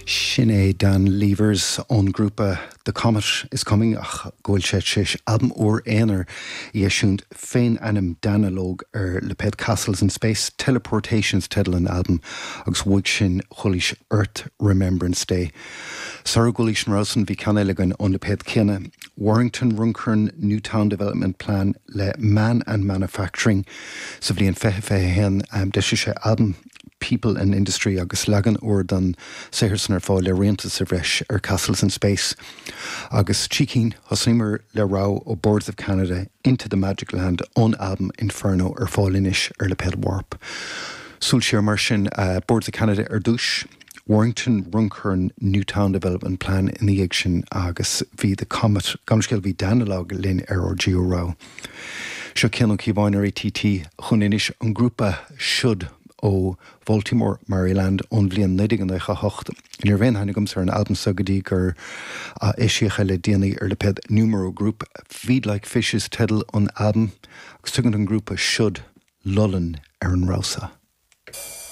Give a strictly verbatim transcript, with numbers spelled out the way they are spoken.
Sin é Dan Levers ón grúpa The Comet is Coming ach go bhfuil sé tar éis albam úr aonair a eisiúint fén ainm Danalogue ar lipéad Castles in Space Teleportations teideal an albaim agus uaidh sin chualaís Earth Remembrance Day. Sara gcualaís an rogha san bhí ceann eile againn ón lipéad céanna. Warrington Runcorn Newtown Development Plan le Man and Manufacturing sa bhliain fiche fiche haon um, d'eisigh sé albam People and Industry agus leagan úr den saothar san ar fáil le rianta sa bhreis ar Castles in Space. Agus trí cinn thosaíomar le rogha ó Boards of Canada Into the Magic Land ón album Inferno ar fáil anois ar lipéad Warp. Súil siar mar sin uh, Boards of Canada ar dtús, Warrington Runcorn Newtown Development Plan ina dhiaidh sin agus bhí The Comet gamscéal bhí Danalogue linn ar ár dtríú rogha. Seo Cian Ó Cíobháin ar ATT chun anois an grúpa Should ó Baltimore, Maryland ón bhliain naoi déag nócha hocht. Ní raibh aon aithne agamsa ar an albam seo go dtí gur eisíodh é le déanaí ar lipéad Numero Group Feed Like Fishes teideal an albaim agus tugann an grúpa Should Lullin ar an rogha seo.